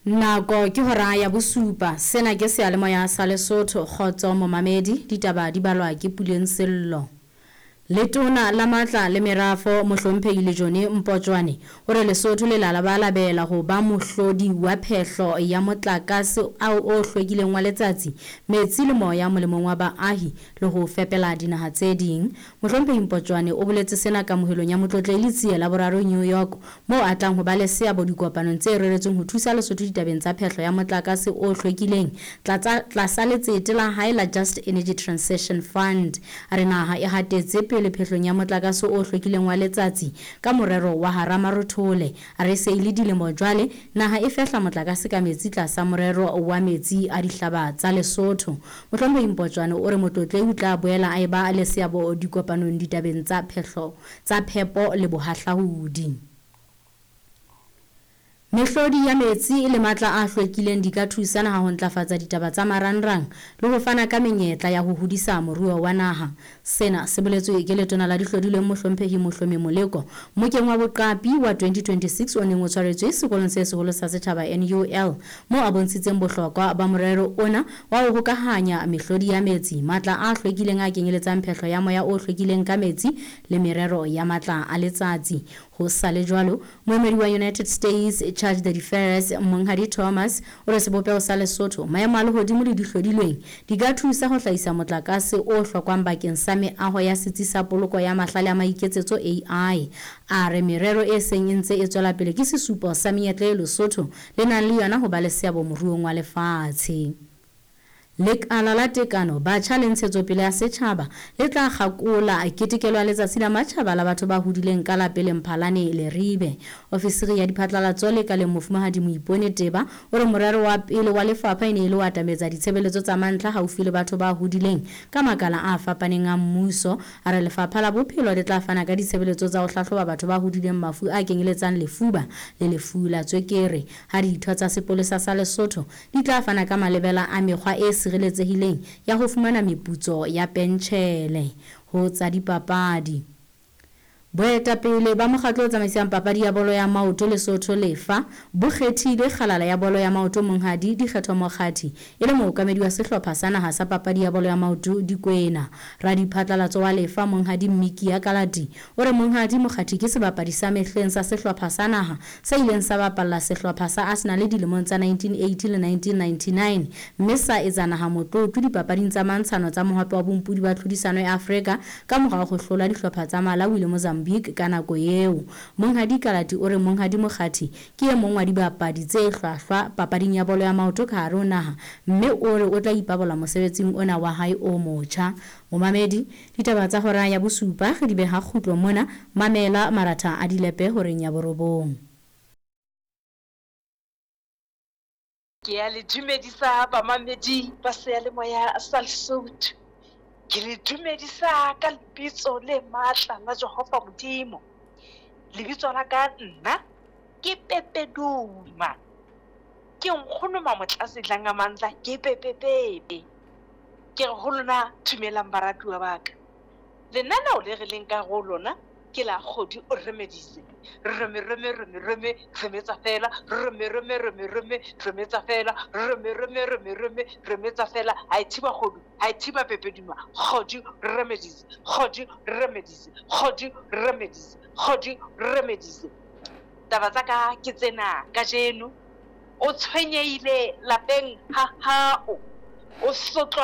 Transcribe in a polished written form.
Nako ke hora ya bosupa. Sena ke seyalemoya sa Lesotho. Kgotso momamedi, ditaba di balwa ke Puleng Sello. Letona la Matla le Merafo Mohlomphehi Lejone Mpotjoane o re Lesotho le labalabela ho ba mohlodi wa phehlo ya motlakase o hlwekileng wa letsatsi, metsi le moya molemong wa baahi le ho fepela dinaha tse ding. Mohlomphehi Mpotjoane o boletse sena kamohelong ya Motlotlehi Letsie Laboraro New York moo a tlang ho ba le seabo dikopanong tse reretsweng ho thusa Lesotho ditabeng tsa phehlo ya motlakase o hlwekileng tlasa letsete la hae la Just Energy Transition Fund. A re naha e hatetse pele phehlong ya motlakase o hlwekileng wa letsatsi ka morero wa hara marothole. A re se e le dilemo jwale naha e fehla motlakase ka metsi tlasa morero wa metsi a dihlaba tsa Lesotho. Mohlomphehi Mpotjoane o re Motlotlehi o tla boela a eba le seabo dikopanong ditabeng tsa phehlo tsa phepo le bohahlaudi. Mehlodi ya metsi le matla a hlwekileng di ka thusa naha ho ntlafatsa ditaba tsa marangrang le ho fana ka menyetla ya ho hodisa moruo wa naha. Sena se boletswe ke Letona la Dihlodilweng Mohlomphehi Mohlomi Moleko mmokeng wa boqapi wa 2026 o neng o tshwaretswe Sekolong se Seholo sa Setjhaba, NUL, moo a bontshitseng bohlokwa ba morero ona wa ho hokahanya mehlodi ya metsi, matla a hlwekileng a kenyeletsang phehlo ya moya o hlwekileng ka metsi le merero ya matla a letsatsi. Ho sa le jwalo, moemedi wa United States Charge de Affaires Monghadi Thomas o re sebopeho sa Lesotho, maemo a lehodimo le dihlodilweng di ka thusa ho hlahisa motlakase o hlokwang bakeng sa meaho ya setsi sa poloko ya mahlale a maiketsetso AI. A re merero e seng e ntse e tswela pele ke sesupo sa menyetla eo Lesotho le nang le yona ho ba le seabo moruong wa lefatshe. Lekala la Tekano, Batjha le Ntshetsopele ya Setjhaba le tla kgakola ketekelo ya Letsatsi la Matjhaba la Batho ba Hodileng ka la pele Mphalane Leribe. Ofisiri ya Diphatlalatso Lekaleng Mofumahadi Moipone Teba o re morero wa pele wa lefapha e ne e le ho atametsa ditshebeletso tsa mantlha haufi le batho ba hodileng ka makala a fapaneng a mmuso. A re Lefapha la Bophelo le tla fana ka ditshebeletso tsa ho hlahloba batho ba hodileng mafu a kenyeletsang lefuba le lefu la tswekere. Ha ditho tsa sepolesa sa Lesotho di tla fana ka malebela a mekgwa e sireletsehileng ya ho fumana meputso ya pentjhele. Ho tsa dipapadi. Boetapele ba mokgatlo o tsamaisang papadi ya bolo ya maoto Lesotho, Lefa, bo kgethile kgalala ya bolo ya maoto Monghadi Dikgetho Mokgathi e le mookamedi wa sehlopha sa naha sa papadi ya bolo ya maoto Dikwena. Radiphatlalatso wa Lefa Monghadi Mmikia Kalati o re Monghadi Mokgathi ke sebapadi sa mehleng sa sehlopha sa naha se ileng sa bapalla sehlopha sa Arsenal dilemong tsa 1980 le 1999 mme sa etsa naha motlotlo dipapading tsa mantshano tsa Mohope wa Bompodi wa Tlhodisano ya Afrika ka morao ho hlola dihlopha tsa Malawi le Mozambique ka nako eo. Monghadi Kalati o re Monghadi Mokgathi ke e mong wa dibapadi tse hlwahlwa papading ya bolo ya maoto ka hare ho naha mme o re o tla ipabola mosebetsing ona wa hae o motjha. Momamedi, ditaba tsa hora ya bosupa re di beha kgutlo mona, mamela maratha a dilepe horeng ya borobong. Ke ya le dumedisa bamamedi ba seyalemoya sa Lesotho. Ke le dumedisa ka lebitso le matla la Jehova Modimo. Lebitso la ka nna ke Pepeduma. Ke nkgono Mamotlase Dlangamandla ke Pepepepe. Ke re ho lona dumelang baratuwa ba ka. Lenaneo le re leng ka ho lona ke la Kgodi o remedise. Reme reme reme reme remetsa fela reme reme reme reme remetsa fela reme reme reme reme remetsa fela ha e thiba kgodu ha e thiba pepeduma Kgodi remedise Kgodi remedise Kgodi remedise Kgodi remedise. Taba tsa ka ke tsena kajeno. O tshwenyehile lapeng ha hao. O sotlwa.